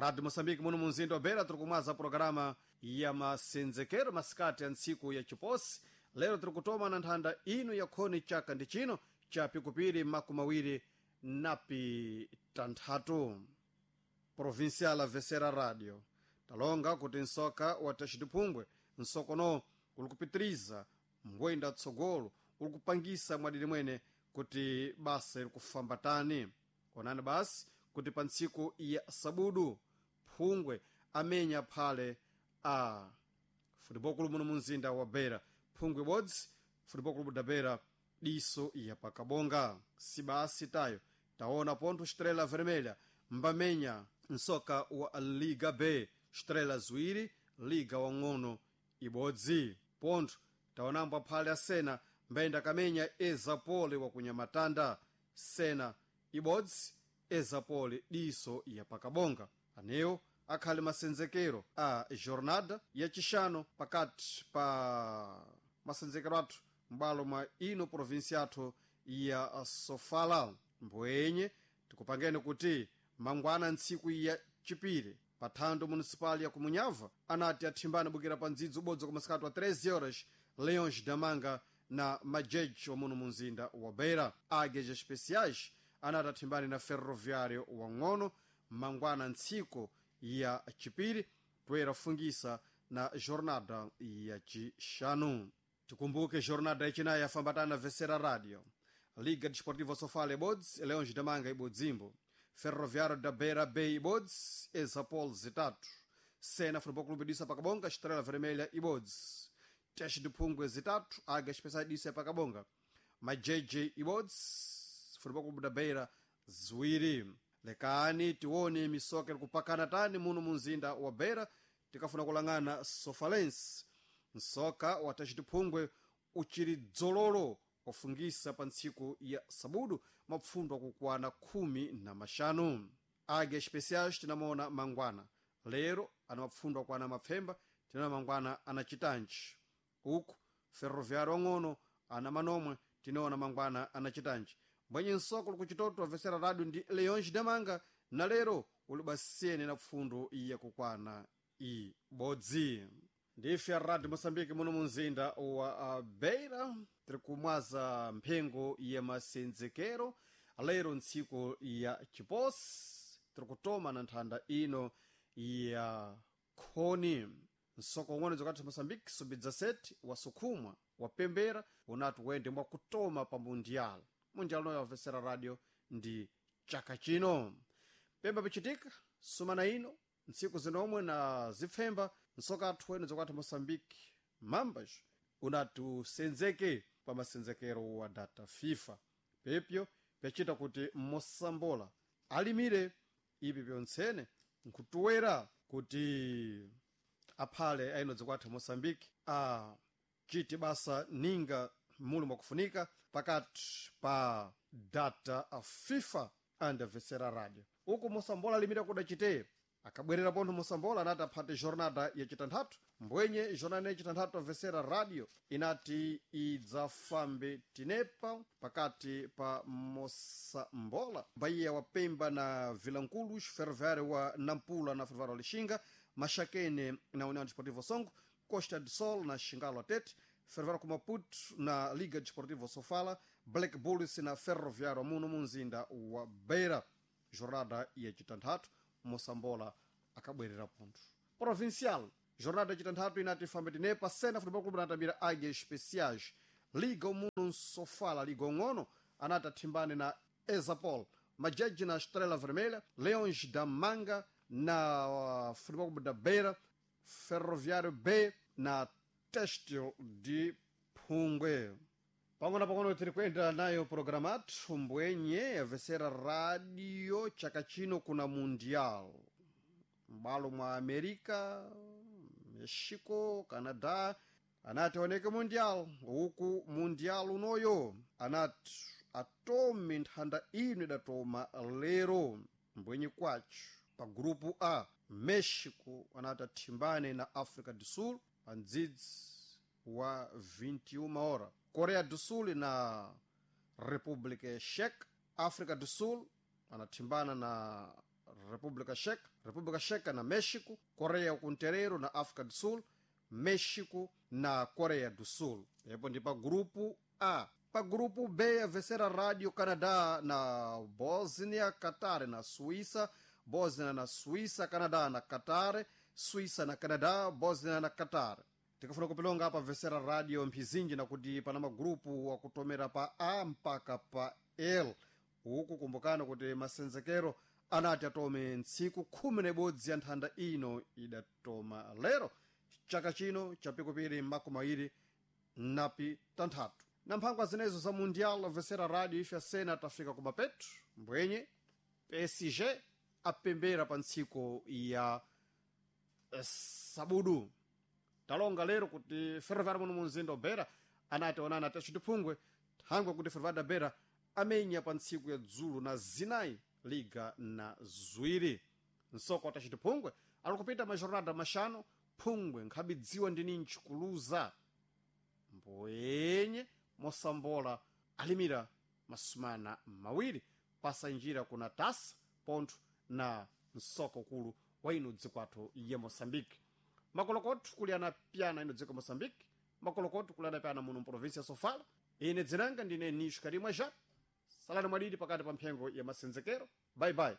Radio Moçambique muno munzinda wa Beira tiri kumwaza programa ya masenzekero masikati ya ntsiku ya chiposi. Lero tiri kutoma na nthanda ino ya khoni chaka ndi chino cha pikupiri 25 napi tanthatu. Provincial Avesera Radio talonga kuti nsoka wa taxidiphungwe nsokono uli kupitiriza mbwenda tsogolo, uli kupangisa mwadidi mwene kuti basa iri kufamba tani. Onani basi kuti pa ntsiku ya sabudu phungwe amenya phale a futebol clube muno munzinda wa Beira, phungwe ibodzi, Futebol Clube da Beira diso ya pakabonga. Si basi tayo, taona pontho Estrela Vermelha mbamenya nsoka wa Liga B, Estrela ziwiri, Liga wang'ono ibodzi. Pontho taonambo aphale asena mbayenda kamenya Ezapole wakunyamatanda, Sena ibodzi, Ezapole diso ya pakabonga. Anewo akhale masenzekero a jornada yacixano pakati pa masenzekero athu m'bwalo mwa ino provinsi yathu ya Sofala. Mbwenye tikupangeni kuti mangwana ntsiku ya chipiri pa thando municipal ya kumunyava anati athimbane bukira pa ndzidzi ubodzi kwa masikati wa 13 horas, Leões Damanga na Majeji wa muno munzinda wa Beira. Águias Especiais anati athimbane na Ferroviário wang'ono mangwana ntsiku ya chipiri, poyera fungisa na jornada ya chixanu. Tikumbuke jornada yachinayi yafambatana Vesera Radio: Liga Desportiva Sofala ibodzi, Leões Damanga ibodzimbo, Ferroviário da Beira B ibodzi, Exapol zitatu, Sena Futebol Clube disa pakabonga, Estrela Vermelha ibodzi, Teste de Phungwe zitatu, Águia Especial disa pakabonga, Majeje ibodzi, Futebol Clube da Beira ziwiri. Lekani tione misoka iri kupakana tani muno munzinda wa Beira. Tikafuna kulang'ana Sofalense, nsoka wa Teste de Phungwe uchiri dzololo wafungisa pa ntsiku ya sabudu mapfundo akukwana 15. Águia Especiais tinamaona mangwana, lero ana mapfundo akwana mapfemba, tinaona mangwana ana chitanji. Uku Ferroviário wang'ono ana manomwe, tinaona mangwana ana chitanji. Mbwenye nsoko likuchitoto avesera radio ndi Leões Damanga, na lero ulibasiyene na pfundo yakukwana ibodzi. Ndife a Radio Moçambique muno munzinda wa Beira, tiri kumwaza mphengo ya masenzekero lero ntsiku ya chiposi, tiri kutoma na nthanda ino ya khoni. Nsoko ung'ono dzokati Moçambique sub-17 wasukhumwa wapembera unati wende mwakutoma pa mundial. Mundial noyo avesera radio ndi chaka chino. Pemba pichitika sumana ino ntsiku zinomwe na zipfemba, nsoka athu wene zokwatha Moçambique mambas unati usenzeke pa masenzekero wa data FIFA. Pepyo pyachita kuti mosambola alimire ipi pyontsene nkutuwera kuti aphale aino zikwatha Moçambique a chiti basa ninga muli mwakufunika pakati pa data a FIFA andavesera radio. Uku mosambola alimire kudachite akabwerera pontho mosambola anati aphate jornada yacitanthatu. Mbwenye jornada yacitanthatu avesera radio inati idzafambe tinepa pakati pa Mosambola Bahia wa Pemba na Vilanculos, Ferroviário wa Nampula na Ferroviário wa Lixinga, Maxaquene na União Desportiva Songo, Costa do Sol na Xingalo Atete, Ferroviário com Maputo na Liga Desportiva Sofala, Black Bulls na Ferroviário muno munzinda wa Beira. Jornada yacitanthatu Mosambola akabwerera pontho. Provincial jornada yacitanthatu inati fambe tinepa: Sena Futebol Clube anatambira Águias Especiais, Liga muno Sofala, Liga ung'ono anati athimbane na Exapol, Majeji na Estrela Vermelha, Leões da Manga na Futebol Clube da Beira, Ferroviário B na Têxtil de Phungwe. Pang'ono pang'ono tiri kuyenda nayo programa athu. Mbwenye avesera radio, chaka chino kuna mundial m'balo mwa America, Mexico, Canada anati aoneke mundial. Uku mundial unoyo anati atome nthanda ino idatoma lero. Mbwenye kwacho pa grupu A, Mexico anati athimbane na Africa do Sul pa mdzidzi wa 21 hora, Coreia do Sul na República Checa. África do Sul anathimbana na República Checa, República Checa na México, Coreia Kunterero na África do Sul, México na Coreia do Sul. Epo ndi pa grupo A. Pa grupo B a vencer a Rádio Canadá na Bósnia, Qatar na Suíça, Bósnia na Suíça, Canadá na Qatar, Suíça na Canadá, Bósnia na Qatar. Tikafuna kupilonga apa vencer a rádio mphizinji nakuti pana magrupu wakutomera pa A mpaka pa L. Uku kumbukana kuti masenzekero anati atome ntsiku 11 ya nthanda ino idatoma lero chaka chino chapikupiri makumi awiri napi tanthatu na mphangwa zinezo za mundial vesera radio ife asena tafika kumapetu mbwenye PSG apembera pa ntsiku ya sabudu. Talonga lero kuti ferroviário muno munzinda obera anati onana tachitiphungwe thangwe kuti ferroviário da Beira amenya pa ntsiku ya dzulo na zinayi liga na ziwiri. Nsoko tachitiphungwe ali kupita majornada maxanu phungwe nkhabidziwa ndi ninji kuluza mboyenye mosambola alimira masumana mawiri pasa njira kuna tasa pontho na msoko ukulu wa ino dziko athu ya Moçambique. Makolokothu kuli anapyana ino dziko Moçambique, makolokothu kuli anapyana muno mprovinsia ya Sofala. Ine dzinanga ndine Nisho Karimwa Ja. Salani mwadidi pakati pa mphengo ya masenzekero. Bye bye.